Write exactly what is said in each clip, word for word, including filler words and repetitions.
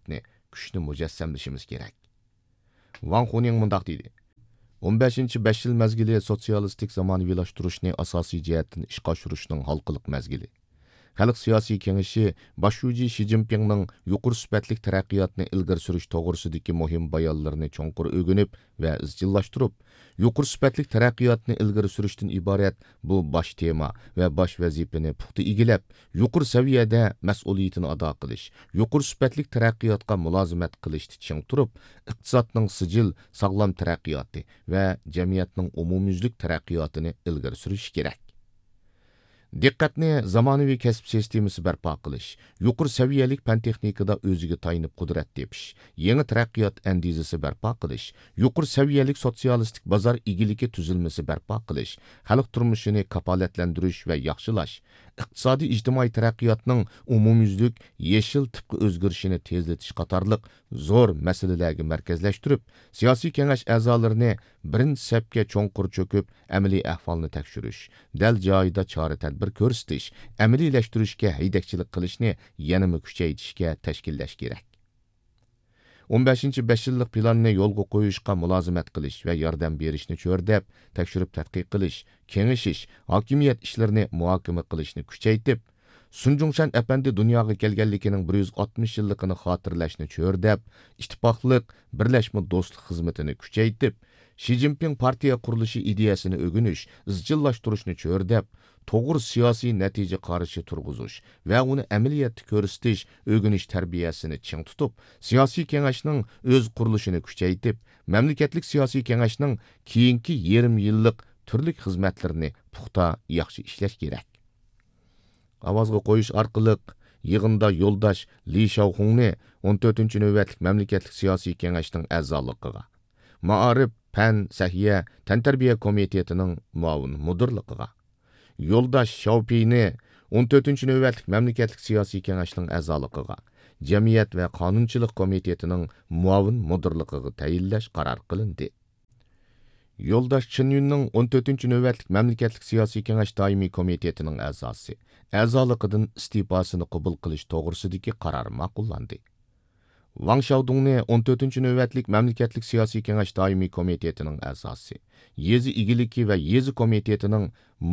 مەنپەئەتنى، كۈچنى مۇجەسسەملىشىمىز كېرەك. ۋاڭ خۇنىڭ مۇنداق دېدى: «ئون بەشىنچى بەش يىل مەزگىلى سوتسىيالىستىك زامانىۋىلاشتۇرۇشنى ئاساسىي جەھەتتىن ئىشقا ئاشۇرۇشنىڭ ھالقىلىق مەزگىلى. خەلق سىياسىي كېڭىشى باش شۇجى شى جىنپىڭنىڭ يۇقىرى سۈپەتلىك تەرەققىياتنى ئىلگىرى سۈرۈش توغرىسىدىكى مۇھىم بايانلىرىنى چوڭقۇر ئۆگىنىپ ۋە ئىزچىللاشتۇرۇپ، يۇقىرى سۈپەتلىك تەرەققىياتنى ئىلگىرى سۈرۈشتىن ئىبارەت بۇ باش تېما ۋە باش ۋەزىپىنى پۇختا ئىگىلەپ، يۇقىرى سەۋىيەدە مەسئۇلىيىتىنى ئادا قىلىش، يۇقىرى سۈپەتلىك تەرەققىياتقا مۇلازىمەت قىلىشتا چىڭ تۇرۇپ، ئىقتىسادنىڭ سىجىل، ساغلام تەرەققىياتى ۋە جەمئىيەتنىڭ ئومۇميۈزلۈك تەرەققىياتىنى ئىلگىرى سۈرۈشى كېرەك.» دىققەتنى زامانىۋى كەسىپ سىستېمىسى بەرپا قىلىش، يۇقىرى سەۋىيەلىك پەن-تېخنىكىدا ئۆزىگە تايىنىپ قۇدرەت تېپىش، يېڭى تەرەققىيات ئەندىزىسى بەرپا قىلىش، يۇقىرى سەۋىيەلىك سوتسىيالىستىك بازار ئىگىلىكى تۈزۈلمىسى بەرپا قىلىش، خەلق تۇرمۇشىنى كاپالەتلەندۈرۈش ۋە ياخشىلاش، ئىقتىسادىي ئىجتىمائىي تەرەققىياتنىڭ ئومۇميۈزلۈك يېشىل تىپقا ئۆزگىرىشىنى تېزلىتىش قاتارلىق زور مەسىلىلەرگە مەركەزلەشتۈرۈپ، سىياسىي كېڭەش ئەزالىرىنى بىرىنچى سەپكە چوڭقۇر چۆكۈپ، ئەمەلىي ئەھۋالنى تەكشۈرۈش، دەل جايىدا چارە-تەدبىر كۆرسىتىش، ئەمەلىيلەشتۈرۈشكە ھەيدەكچىلىك قىلىشنى يەنىمۇ كۈچەيتىشكە تەشكىللەش كېرەك. ئون بەشىنچى بەش يىللىق پىلاننى يولغا قويۇشقا مۇلازىمەت قىلىش ۋە ياردەم بېرىشنى چۆرىدەپ، تەكشۈرۈپ تەتقىق قىلىش، كېڭىشىش، ھاكىمىيەت ئىشلىرىنى مۇھاكىمە قىلىشنى كۈچەيتىپ، سۇن جۇڭشەن ئەپەندى دۇنياغا كەلگەنلىكىنىڭ بىر يۈز ئاتمىش يىللىقىنى خاتىرىلەشنى چۆرىدەپ، ئىتتىپاقلىق، بىرلەشمە دوستلۇق خىزمىتىنى كۈچەيتىپ، شى جىنپىڭ پارتىيە قۇرۇلۇشى ئىدىيەسىنى ئۆگىنىش، ئىزچىللاشتۇرۇشنى چۆرىدەپ، توغرا سىياسىي نەتىجە قارىشى تۇرغۇزۇش ۋە ئۇنى ئەمەلىيەتتە كۆرسىتىش، ئۆگىنىش تەربىيەسىنى چىڭ تۇتۇپ، سىياسىي كېڭەشنىڭ ئۆز قۇرۇلۇشىنى كۈچەيتىپ، مەملىكەتلىك سىياسىي كېڭەشنىڭ كېيىنكى يېرىم يىللىق تۈرلۈك خىزمەتلىرىنى پۇختا، ياخشى ئىشلەش كېرەك. ئاۋازغا قويۇش ئارقىلىق يىغىندا يولداش لى شياۋخۇڭنى ئون تۆتىنچى نۆۋەتلىك مەملىكەتلىك سىياسىي كېڭەشنىڭ ئەزالىقىغا، مائارىپ، پەن، سەھىيە، تەنتەربىيە كومىتېتىنىڭ مۇئاۋىن مۇدىرلىقىغا، يولداش شياۋپېينى ئون تۆتىنچى نۆۋەتلىك مەملىكەتلىك سىياسىي كېڭەشنىڭ ئەزالىقىغا، جەمئىيەت ۋە قانۇنچىلىق كومىتېتىنىڭ مۇئاۋىن مۇدىرلىقىغا تەيىنلەش قارار قىلىندى. يولداش چېن يۈننىڭ ئون تۆتىنچى نۆۋەتلىك مەملىكەتلىك سىياسىي كېڭەش دائىمىي كومىتېتىنىڭ ئەزاسى، ئەزالىقىدىن ئىستېپاسىنى قوبۇل قىلىش توغرىسىدىكى قارار ماقۇللاندى. ۋاڭ شياۋدۇڭنى ئون تۆتىنچى نۆۋەتلىك مەملىكەتلىك سىياسىي كېڭەش دائىمىي كومىتېتىنىڭ ئەزاسى، يېزا ئىگىلىكى ۋە يېزا كومىتېتىنىڭ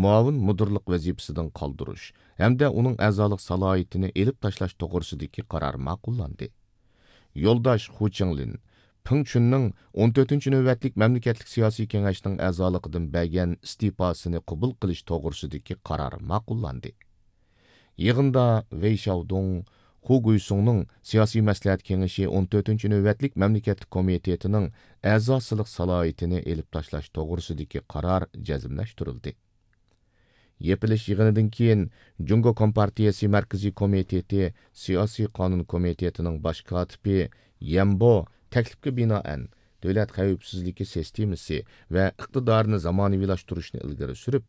مۇئاۋىن مۇدىرلىق ۋەزىپىسىدىن قالدۇرۇش ھەمدە ئۇنىڭ ئەزالىق سالاھىيىتىنى ئېلىپ تاشلاش توغرىسىدىكى قارار ماقۇللاندى. يولداش خۇ چىڭلىن پېڭ چۈننىڭ ئون تۆتىنچى نۆۋەتلىك مەملىكەتلىك سىياسىي كېڭەشنىڭ ئەزالىقىدىن بەرگەن ئىستېپاسىنى قوبۇل قىلىش توغرىسىدىكى قارار ماقۇللاندى. يىغىندا ۋېي شياۋدۇڭ، خۇ گۇيسۇڭنىڭ سىياسىي مەسلىھەت كېڭىشى ئون تۆتىنچى نۆۋەتلىك مەملىكەتلىك كومىتېتىنىڭ ئەزاسىلىق سالاھىيىتىنى ئېلىپ تاشلاش توغرىسىدىكى قارار جەزملەشتۈرۈلدى. يېپىلىش يىغىنىدىن كېيىن، جۇڭگو كومپارتىيەسى مەركىزىي كومىتېتى سىياسىي قانۇن كومىتېتىنىڭ باش كاتىپى يەنبو تەكلىپكە بىنائەن، دۆلەت خەۋپسىزلىكى سىستېمىسى ۋە ئىقتىدارىنى زامانىۋىلاشتۇرۇشنى ئىلگىرى سۈرۈپ،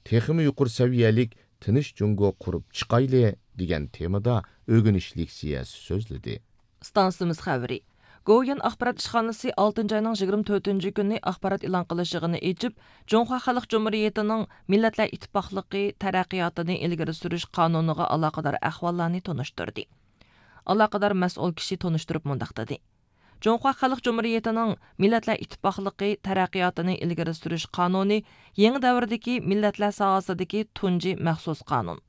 تېخىمۇ يۇقىرى سەۋىيەلىك تىنچ جۇڭگو قۇرۇپ چىقايلى دېگەن تېمىدا ئۆگىنىش لېكسىيەسى سۆزلىدى. ئىستانسىمىز خەۋىرى. گوۋۇيۈەن ئاخبارات ئىشخانىسى ئالتىنچى ئاينىڭ يىگىرمە تۆتىنچى كۈنى ئاخبارات ئېلان قىلىش يىغىنى ئېچىپ، جۇڭخۇا خەلق جۇمھۇرىيىتىنىڭ مىللەتلەر ئىتتىپاقلىقى تەرەققىياتىنى ئىلگىرى سۈرۈش قانۇنىغا ئالاقىدار ئەھۋاللارنى تونۇشتۇردى. ئالاقىدار مەسئۇل كىشى تونۇشتۇرۇپ مۇنداق دېدى: جۇڭخۇا خەلق جۇمھۇرىيىتىنىڭ مىللەتلەر ئىتتىپاقلىقى تەرەققىياتىنى ئىلگىرى سۈرۈش قانۇنى يېڭى دەۋردىكى مىللەتلەر ساھەسىدىكى تۇنجى مەخسۇس قانۇن.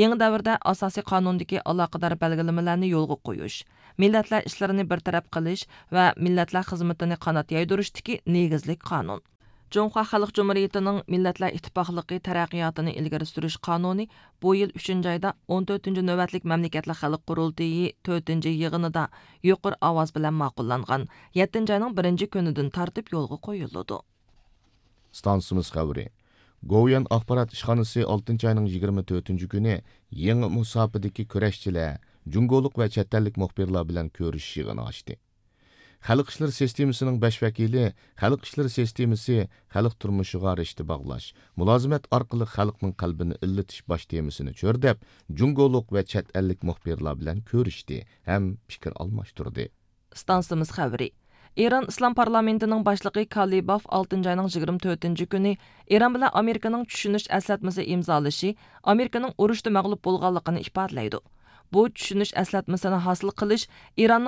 يېڭى دەۋردە ئاساسىي قانۇندىكى ئالاقىدار بەلگىلىمىلەرنى يولغا قويۇش، مىللەتلەر ئىشلىرىنى بىر تەرەپ قىلىش ۋە مىللەتلەر خىزمىتىنى قانات يايدۇرۇشتىكى نېگىزلىك قانۇن. جۇڭخۇا خەلق جۇمھۇرىيىتىنىڭ مىللەتلەر ئىتتىپاقلىقى تەرەققىياتىنى ئىلگىرى سۈرۈش قانۇنى بۇ يىل ئۈچىنچى ئايدا ئون تۆتىنچى نۆۋەتلىك مەملىكەتلەر خەلق قۇرۇلتىيى تۆتىنچى يىغىنىدا يۇقىرى ئاۋاز بىلەن ماقۇللانغان، يەتتىنچى ئاينىڭ بىرىنچى كۈنىدىن تارتىپ يولغا قويۇلىدۇ. ئىستانسىمىز خەۋىرى. گوۋۇيۈەن ئاخبارات ئىشخانىسى ئالتىنچى ئاينىڭ يىگىرمە تۆتىنچى كۈنى يېڭى مۇساپىدىكى كۈرەشچىلەر، جۇڭگولۇق ۋە چەت ئەللىك مۇخبىرلار بىلەن كۆرۈشۈش يىغىنى ئاچتى. خەلق ئىشلىرى سىستېمىسىنىڭ بەش ۋەكىلى خەلق ئىشلىرى سىستېمىسى خەلق تۇرمۇشىغا رىشتە باغلاش، مۇلازىمەت ئارقىلىق خەلقنىڭ قەلبىنى ئىللىتىش باش تېمىسىنى چۆرىدەپ، جۇڭگولۇق ۋە چەت ئەللىك مۇخبىرلار بىلەن كۆرۈشتى ھەم پىكىر ئالماشتۇردى. ئىستانسىمىز خەۋىرى. ئىران ئىسلام پارلامېنتىنىڭ باشلىقى كالىباف ئالتىنچى ئاينىڭ يىگىرمە تۆتىنچى كۈنى ئىران بىلەن ئامېرىكىنىڭ چۈشىنىش ئەسلەتمىسى ئىمزالىشى ئامېرىكىنىڭ ئۇرۇشتا مەغلۇپ بولغانلىقىنى ئىپادىلەيدۇ. بۇ چۈشىنىش ئەسلەتمىسىنى ھاسىل قىلىش ئىراننىڭ